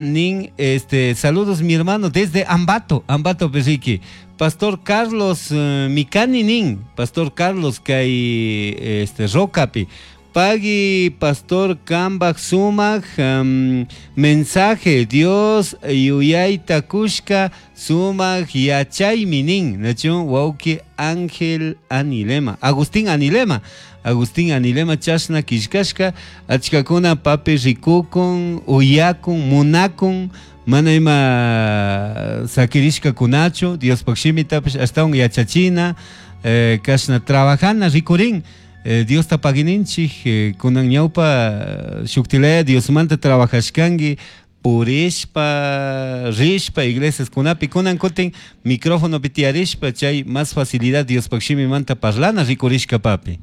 Nin, este, saludos mi hermano desde Ambato, Ambato Perriqui. Pastor Carlos Mikani nin, Pastor Carlos kay este Rocapi. Pagui Pastor Kambaj sumak mensaje Dios yuyayta kushka sumak yachaymi nin, nachun wawki Ángel Anilema, Agustín Anilema. Agustín Anilema chashna killkashka achkakuna papi rikukun, uyakun, munakun, mana ima sakirishkakunachu Diospaj shimitapish ashtawan yachachina, kashna trabajana rikurin, Diosta pagininchik, kunan ñawpa shuktilaya Diosmanta trabajashkanki, purishpa, rishpa iglesiaskunapi, kunan kutin microfonopi tiyarishpa chay más facilidad Diospaj shimimanta parlana rikurishka papi.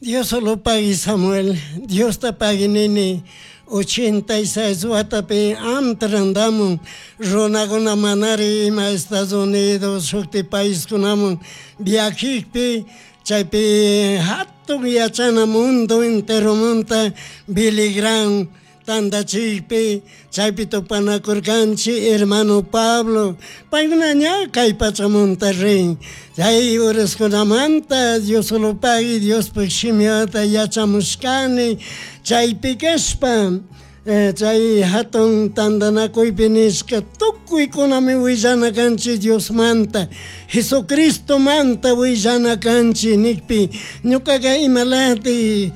Dios solo pagui Samuel, Diosta pagui nini, 86 watapi amtrandamun, runakuna manari ima Estados Unidos shukti paiskunamun viajikpi, chaypi hatun yachana mundo enteromanta Billy Graham tandachikpi, chaypi tupanakurkanchik hermano Pablo, paykuna ña kay pachamunta rin, chay uraskunamanta Dios solo pagui Diospaj shimiwata yachamushkani, chaypi kashpa, chay hatun tandanakuypi nishka tukuykunami willana kanchik Diosmanta, Jesucristomanta willana kanchik nikpi, ñukaka imalati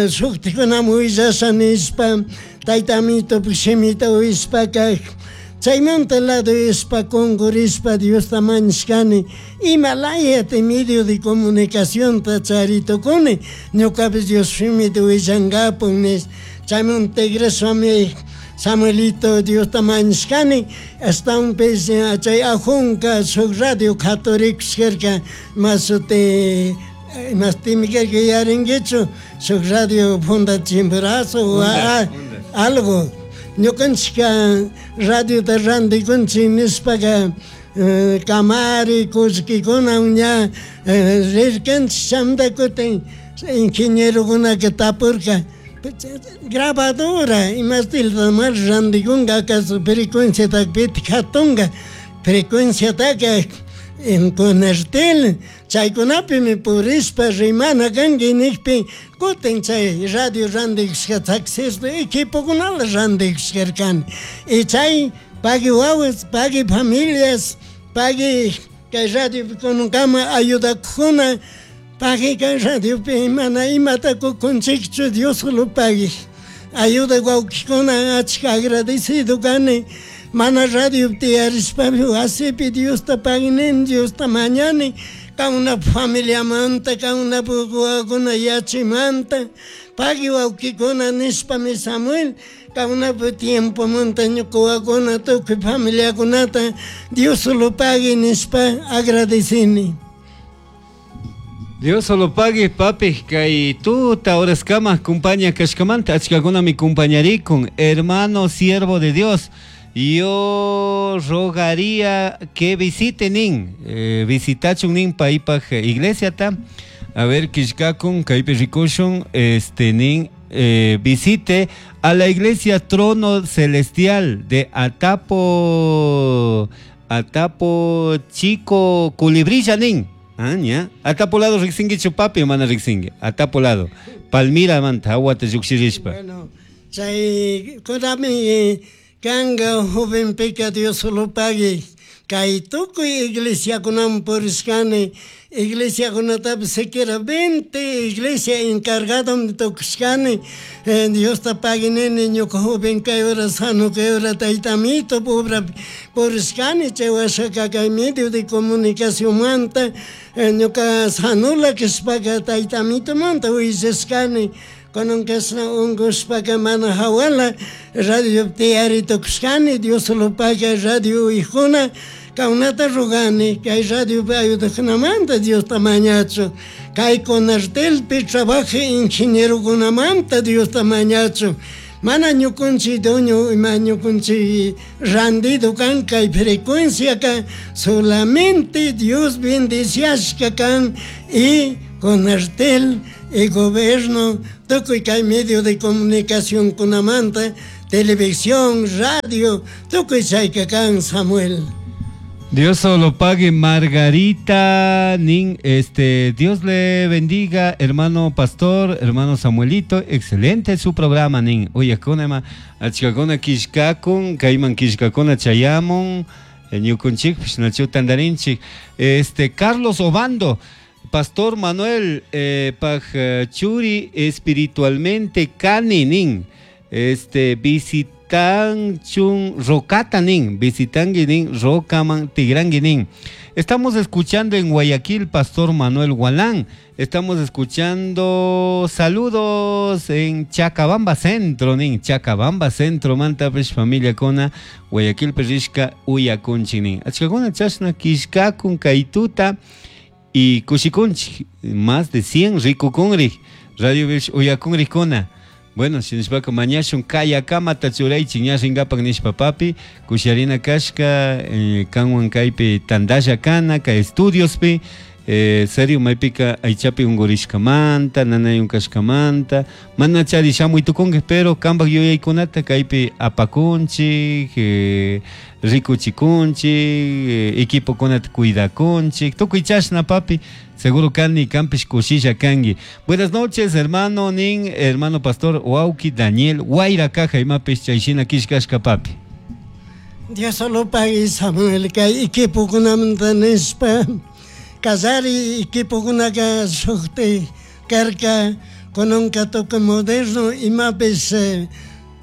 shuktikunami willasha nishpa, tayta Amitopak shimita uyashpaka, chaymanta lado ishpa kungurishpa Diosta mañashkani, imalayati medio de comunicacionta charitukuni, ñukapish Dios shimita willankapun nish, chaymanta tigrashpami Samuelito Diosta mañashkani, ashtawanpish chay ajunka shuk radio katurikushkarka, mashuti imastimi karka yarinkichu, shuk radio Funda Chimborazo o algo, ñukanchika radiota rantikunchik nishpaka, kamari kullkikuna ña rirkanchik chaymanta kutin ingenierokunaka tapurka, grabadora imastilta mar rantikunka acaso frecuenciataka pitik hatunka, frecuenciataka en Conertel, chaykunapimi purishpa rimana kanki nikpi, kutin chay radio rantikushka taxista equipokunala rantikushkarkani, y chay pagui wawas, pagui familias, pagui kay radiopi kunankama ayudakuna, pagui kay radiopi mana imata kukunchikchu Dios solo pagui, ayuda wawkikuna achka agradecido kani, mana radiopi tiyarishpapi wasipi Diosta paguinini, Diosta mañani, kauna familiamanta, kauna wawakuna yachimanta, pagui wawkikuna nishpami Samuel, kaunapi tiempomanta ñuka wawakuna tukuy familiakunata Dios solo pagui nishpa agradecini. Dios solo pagui papi, kay tuta horaskama kumpaña kashkamanta, achkakunami kumpañarikun, hermano siervo de Dios, yo rogaría que visiten nin, visitachun nin paypaj iglesiata, a ver kishkakun kaypi rikushun, este nin, visite a la iglesia Trono Celestial de Atapo, Atapo Chico Culibrilla nin. Ah, ya. Atapo lado riksinkichu papi, mana riksinki. Atapo lado. Palmira manta, aguata llukshirishpa. Bueno, chay kunami kanga jovenpika Dios solo pagui. Kay tukuy iglesiakunaman purishkani, iglesiakunatapish siquiera 20 iglesia encargadom tukushkani, Diosta paguinini ñuka joven kay hora sano kay hora tayta Amito pobrapi purishkani, chay washaka kay medio de comunicacionmanta, ñuka sanola kashpaka tayta Amitomanta willashkani, kunan kashna unkushpaka mana hawala radio tiyari tukushkani, Dios solo paga radio uyjuna, kaunata rogani, kay radiopi ayudakunamanta Diosta mañachu, kay Conertelpi trabaja ingenierokunamanta Diosta mañachu, mana ñukunchik dueño ima ñukunchik randido kan kay frecuencia ka solamente Dios bendiciashka kan y Conertel y gobierno tukuy kay medio de comunicación kunamanta. Televisión, radio, tukuy chayka kan, Samuel. Dios solo pague Margarita Nin, Dios le bendiga, hermano pastor, hermano Samuelito, excelente su programa nin. Uyakuna achkakuna kishkakun, kayman kishkakuna chayamun, ñukunchikpish nachu tandarinchik. Carlos Obando, Pastor Manuel, paj churi espiritualmente kani nin. Visitan chun rocata nin, visitangi nin, rocaman tigrangi nin. Estamos escuchando en Guayaquil, Pastor Manuel Gualán. Estamos escuchando saludos en Chacabamba Centro, nin, Chacabamba Centro, mantapish familia kona, Guayaquil perishka uyakunchi nin. Achkakuna chashna kishkakun kaytuta y kushikunchi, más de 100 rikukunri, radio bish uyakunri kona. Bueno, si nishpaka mañashun kayakama tachuraychik ña rinkapak nishpa papi, kusharina kashka, kanwan kaypi tandalla kana, kay estudiospi, serio maypika aychapi unkurishkamanta, nanayun kashkamanta, mana chari shamuy tukunki, pero kanpak yuyaykunata kaypi apakunchik, rikuchikunchik, equipokunata cuidakunchik, tukuy chashna papi. Seguro kani kampish kushilla kangi. Buenas noches, hermano nin, hermano pastor Wauki Daniel Guaira Caja imapish chayshina kishkashka papi. Dios solo pague Samuel kay equipokunamanta nishpa kallari equipokunaka shukti karka kunanka tukuy moderno imapish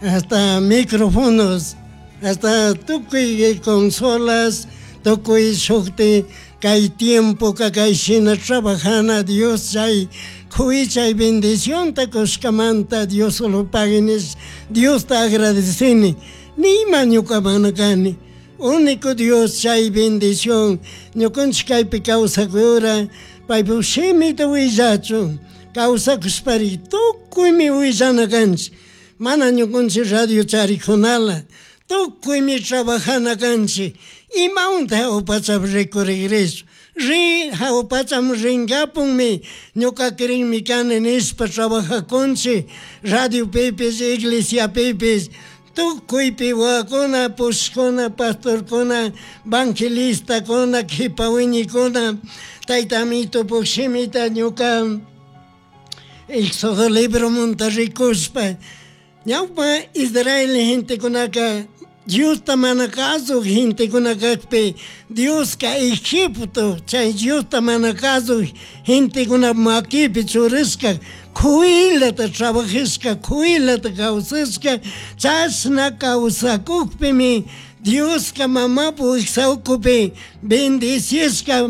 hasta micrófonos, hasta tukuy consolas, tukuy shukti kay tiempo kay shina trabajana Dios chay chay bendición ta kushkamanta Dios solo pague nish, Dios te agradecini nima ñuka mana kani único Dios chay bendición ñukanchik kaypi kawsakura paypuk shimita willachun kawsakushpari tukuymi willana kanchik mana ñukanchik radio charikunala tukuymi trabajana kanchik imawanta hawa rikurigrish ri hawa pacham rinkapunmi ñuka kirinmi kani nishpa trabajakunchik radio pipis iglesia pipis tukuypi wawakuna pushkuna pastorkuna evangelistakuna kipa wiñikuna tayta amitupuk shimita ñuka Éxodo libromunta rikushpa ñawpa Israel gentekunaka Diosta mana kasuq gentekuna kakpi Dioska Egipto chay Diosta mana kasuq gentekuna makipi churashka kuyllata trabajashka kuyllata kawsashka chashna kawsakukpimi Dioska mamapu wiksa ukupi bendecishka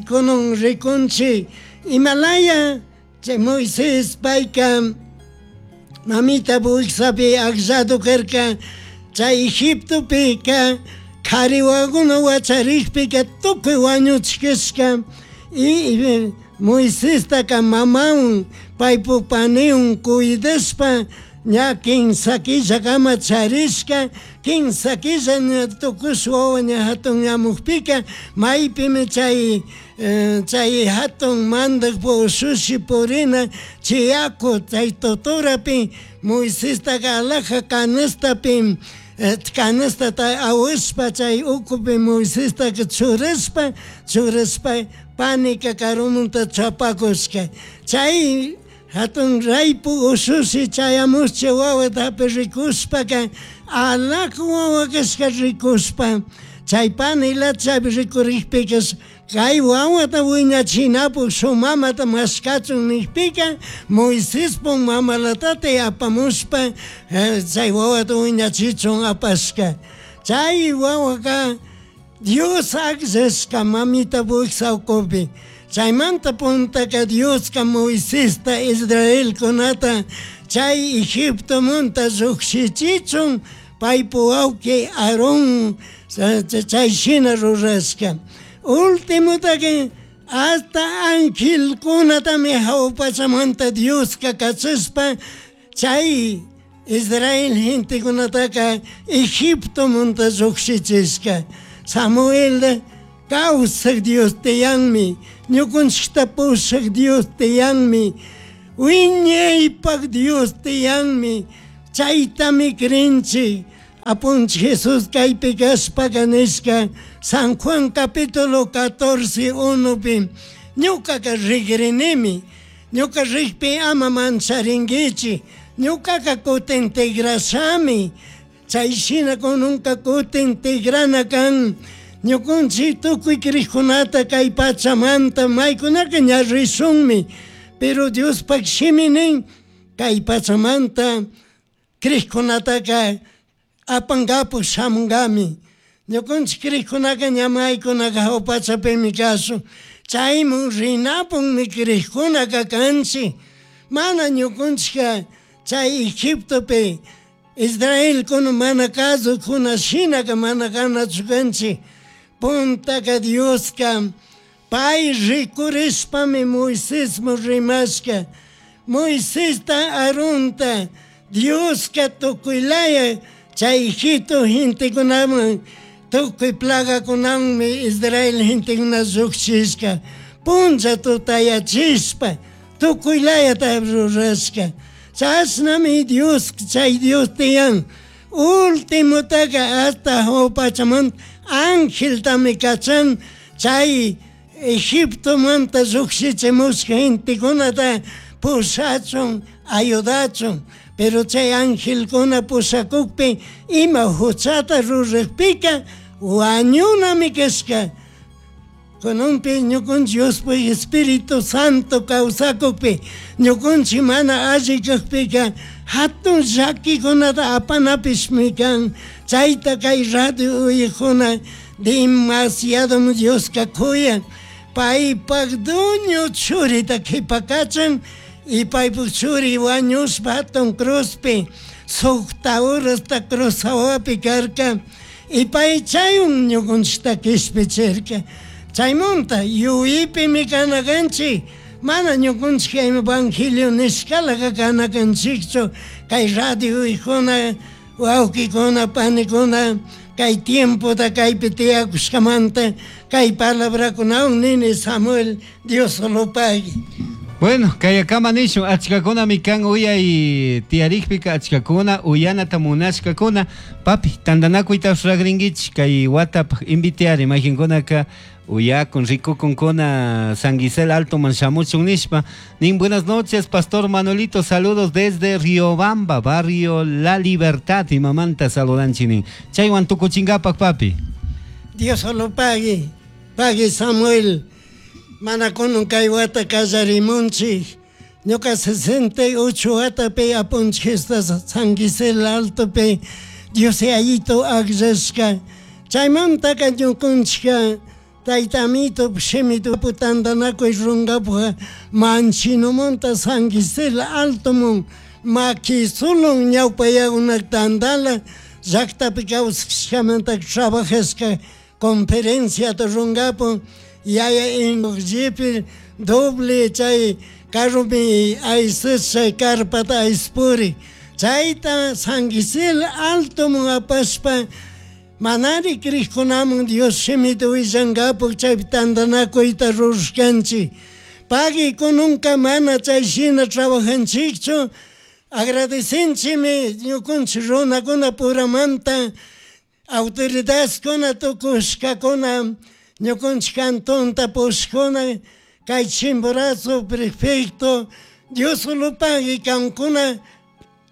kunan rikunchik imalaya chay Moisés payka mamita wiksapi akllado karka chay Egiptopika kari wawakuna wacharikpika tukuy wañuchishka y Moisestaka mamawan paypuk paniwan cuidashpa ña kinsa killakama charishka kinsa killa ña tukush wawa ña hatun ñamukpika maypimi chay chay hatun mandakpuk ushushi purina chay yaku chay totorapi Moisestaka alhaja canastapi canastata awashpa chay ukupi Moisestaka churashpa churashpa panika karumunta chapakushka chay hatun raypu ushushi chayamushcha wawata rikushpaka alhaja wawa kashka rikushpa chay panilata chaypi rikurikpika kay wawata wiñachinapuk shuk mamata mashkachun nikpika Moisespuk mamalatata apamushpa chay wawata wiñachichun apashka chay wawaka Dios akllashka mamita wiksa ukupi chaymanta puntaka Dioska Moisesta Israelkunata chay Egiptomunta llukshichichun paypuk wawki Aarón chay shina rurashka ultimotaka hasta angelkunatami hawa pachamanta Dioska kachashpa chay Israel gentekunataka Egiptomunta llukshichishka Samuel kawsak Dios tiyanmi ñukanchikta pushak Dios tiyanmi wiñaypak Dios tiyanmi. Chaytami crinchik. Apunchik Jesus kaypi kashpaka nishka San Juan capítulo 14 1pi ñukaka rigrinimi. Ñuka rikpi ama mancharinkichik. Ñukaka kutin tigrashami. Chay shina kununka kutin tigrana kan. Ñukunchik tukuy kriqkunata kay pachamanta maykunaka ña rishunmi. Pero Diospaq shimi nin kay pachamanta kriqkunataka apankapuq shamunkami. Ñukunchik kriqkunaka ña maykunaka hawa pachapimi kashun. Chaymun rinapunmi kriqkunaka kanchik. Mana ñukunchikka chay Egiptopi Israelkuna mana kasukuna shinaka mana kanachu kanchik. Puntaka Dioska pay rikurishpami Moisesman rimashka. Moisesta Aaronta Dioska tukuylaya chay Egipto gentekunaman tukuy plagakunamanmi Israel gentekuna lluqshishka. Puncha tutayachishpa tukuylayata rurashka. Chashnami Dios chay Dios tiyan. Ultimotaka hasta hawa pachamanta angeltami kachan chay Egiptomanta lluqshichimushka gentekunata pushachun ayudachun. Pero chay angelkuna pushakukpi ima huchata ruraqpika wañunami kashka. Kununpi ñukunchik Diospaq Espíritu Santo kawsakukpi ñukunchik mana alli kaqpika hatun llakikunata apanapishmi kan. Chayta kay radio uyaqkuna demasiado Dioska kuyan. Paypaq dueño churita qhipakachan y paypaq churi wañushpa hatun cruzpi suqta horasta cruz hawapi karka y pay chaywan ñukunchikta qishpichirka. Chaymunta yuypimi kana kanchik. Mana ñukunchik evangelio nishkalaqa kana kanchikchu. Kay radio uyaqkuna, wawqikuna, panikuna, kay tiempota kaypi tiyakushkamanta kay palabrakunawan nini Samuel Dios lo pague. Bueno, kayakama nishun achkakunami kan uyay tiyarikpika achkakuna uyanata munashkakuna. Papi, tantanakuyta ruragrinkichik kay watapaq invitear mayqinkunaka uyakun rikukunkuna San Gisel Altoman shamuchun nishpa. Nin buenas noches, Pastor Manuelito, saludos desde Riobamba, barrio La Libertad, imamanta saludanchik nin. Chaywan tukuchinkapak, papi. Dios lo pague, pague Samuel. Mana kunan kay wata kallarimunchik. Ñuka 68 watapi apunchik San Gisel Altopi Dios Yayito akllashka. Chaymantaka ñukunchikka Tayta Amito shimita tantanakuy runkapaq Manchinumanta San Gisel Altomun makisulun ñawpayakunak tantala llaqtapi kawsashkamanta trabajashka conferenciata runkapun yaya jeep doble chay carropi aysas chay carpata ayspuri. Chayta San Gisel Altomun apashpa manari kriqkunaman Dios shimita willankapuq chaypi tantanakuyta rurashkanchik. Pagui kununka mana chay shina trabajanchikchu. Agradecinchikmi ñukunchik runakuna puramanta autoridadkuna tukushkakuna ñukunchik cantonta pushkuna kay Chimborazo prefecto Dios lo pague kankuna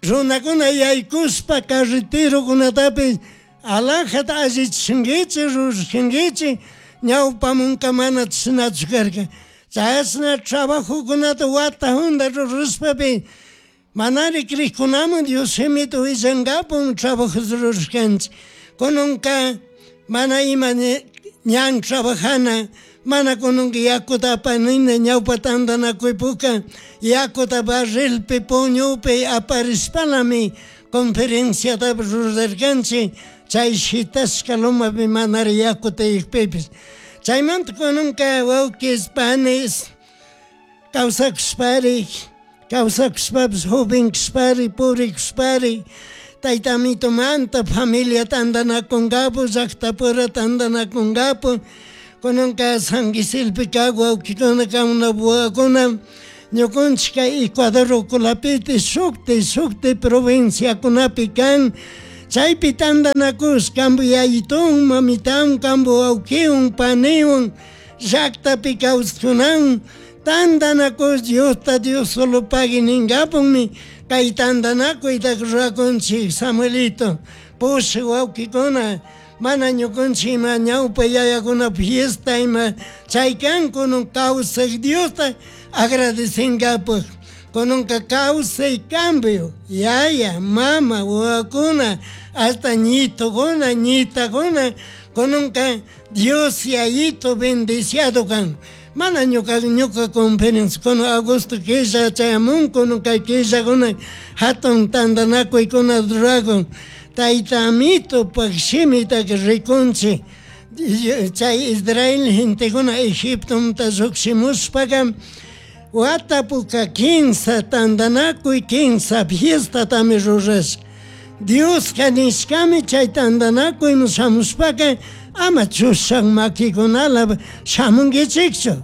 runakuna yaykushpa carreterokunatapis alajata allichinkichik rurashankichik ñawpamunka mana chashnachu karka. Chashna trabajokunata wata hunda rurashpapi manari kriqkunaman Dios shimita willankapun trabajos rurashkanchik. Kununka mana ima ñan trabajana, mana kununka yakuta apanina ñawpa tantanakuypuka yakuta barrilpi puñupi aparishpalami conferenciata rurarkanchik chay shitashka lumapi manari yaku tiyakpipis. Chaymanta kununka wawkis panis kawsakushpari, kawsakushpapis joven kashpari, pobre kashpari, Tayta Amitomanta familia tantanakunkapu, llaqtapura tantanakunkapu, kunanka San Giselpi kaq wawqikuna kamunapuwakuna Ñukanchik kay Ecuador ukulapiti shukti shukti provinciakunapi kan. Chaypi tantanakush kampu yayitun mamitawan kampu wawkiwan paniwan llaktapi kawskunawan tantanakush Diosta Dios solo pagui ninkapunmi kay tantanakuyta rurakunchik Samuelito. Pushak wawkikuna mana ñukanchik ima ñawpa yayakuna fiesta ima chay kan kunan kawsak Diosta agradecenkapuk kunanka kawsay cambio yaya mama wawakuna hasta ñitukuna ñitakuna kunanka Dios yayito bendiciado kan. Mana ñuka ñuka conferencia kuna agosto killa chayamun kunan kay killakuna hatun tantanakuykuna rurakun tayta amitopak shimitaka rikunchik chay Israel gentekuna Egiptomanta llukshimushpaka watapuka kinsa tantanakuy kinsa fiestatami rurashka Dioska nishkami chay tantanakuyman shamushpaka ama chushak makikunala shamunkichikchu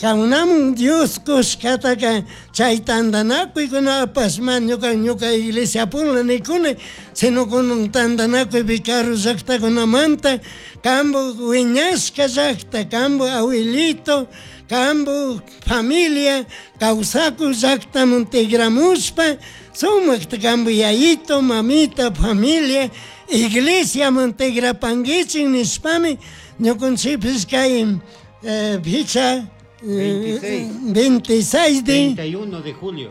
Kankunamun Dios kushkataka chay tantanakuykunapash mana ñuka ñuka iglesia pula nikuni sino kunan tantanakuypi karu llaktakunamanta kampu wiñashka llakta kampu abuelito kampu familia kawsakuk llaktaman tigramushpa sumakta kampu yayito mamita familia iglesiaman tigrapankichik nishpami ñukanchikpish kay fecha 26. 26 de 31 de julio.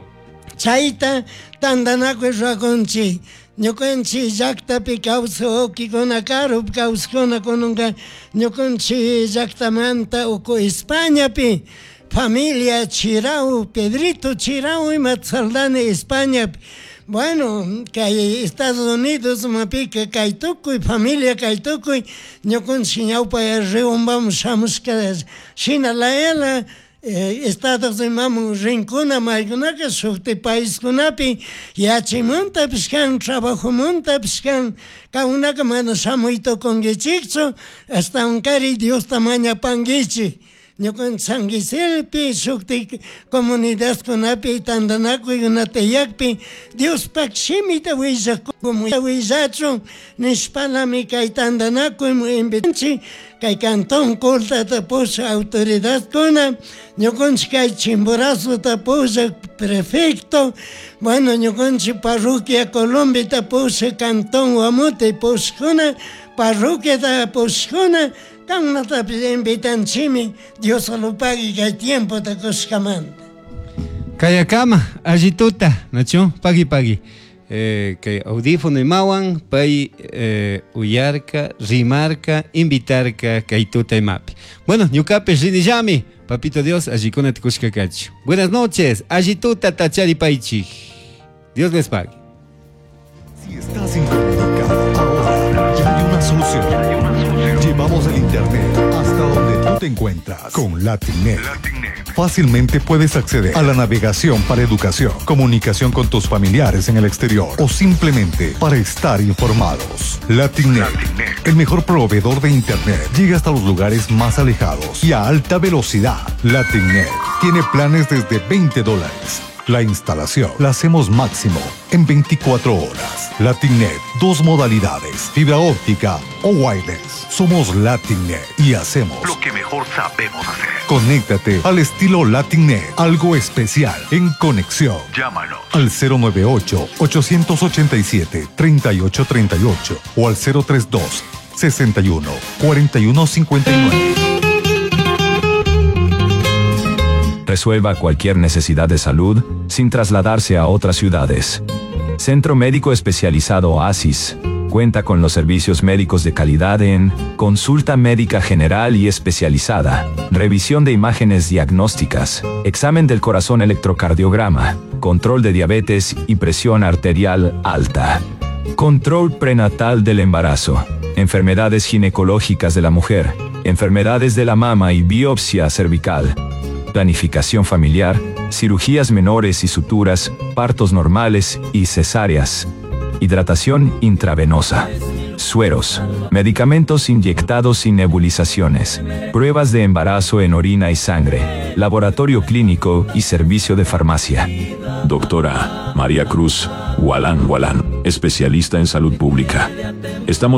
Chayta tantanakuy rurakunchik ñukanchik llaktapi kawsak wawkikuna karupi kawsakuna kunanka ñukanchik llaktamanta uku Españapi familia Chirau, Pedrito Chirau ima Saldana Españapi. Bueno, kay Estados Unidos mapika kay tukuy familia kay tukuy ñukanchik ñawpa Riobambaman shamushka shina layala Estados Unidos rinkuna maykunaka shukti paiskunapi yachaymuntapish kan trabajomuntapish kan kankunaka mana shamuy tukunkichikchu ashtawankari Diosta mañapankichik ñukanchik San Gisélpi shukti comunidadkunapi tantanakuykunata tiyakpi Diospak shimita willachun nishpalami kay tantanakuyman invitanchik kay Cantón Coltata pushak autoridadkuna ñukanchik kay Chimborazota pushak prefecto bueno ñukanchik parroquia Colombita pushak Cantón Guamute pushakuna parroquiata pushakuna kankunatapish invitanchikmi Dios solo pagui kay tiempota kushkamanta. Kayakama, allituta, nacho, pagui pagui. Kay audífono imawan, pay uyarka, rimarka, invitarka, kay tuta imapi. Bueno, ñukapish rinillami, papito Dios, allikuna tukushka kachu. Buenas noches, allituta tachari paichik. Dios les pague. Si estás incomunicado, ahora ya hay una solución. Llevamos el internet hasta donde tú te encuentras con LatinNet. Fácilmente puedes acceder a la navegación para educación, comunicación con tus familiares en el exterior o simplemente para estar informados. LatinNet, el mejor proveedor de internet, llega hasta los lugares más alejados y a alta velocidad. LatinNet tiene planes desde veinte dólares. La instalación la hacemos máximo en 24 horas. LatinNet, dos modalidades, fibra óptica o wireless. Somos LatinNet y hacemos lo que mejor sabemos hacer. Conéctate al estilo LatinNet, algo especial en conexión. Llámanos al cero nueve ocho, ochocientos ochenta y siete, treinta y ocho treinta y ocho o al cero tres dos, sesenta y uno, cuarenta y uno cincuenta y nueve. Resuelva cualquier necesidad de salud sin trasladarse a otras ciudades. Centro Médico Especializado Oasis cuenta con los servicios médicos de calidad en consulta médica general y especializada, revisión de imágenes diagnósticas, examen del corazón electrocardiograma, control de diabetes y presión arterial alta, control prenatal del embarazo, enfermedades ginecológicas de la mujer, enfermedades de la mama y biopsia cervical, planificación familiar, cirugías menores y suturas, partos normales y cesáreas, hidratación intravenosa, sueros, medicamentos inyectados y nebulizaciones, pruebas de embarazo en orina y sangre. Laboratorio Clínico y Servicio de Farmacia. Doctora María Cruz Gualán Gualán, especialista en salud pública. Estamos.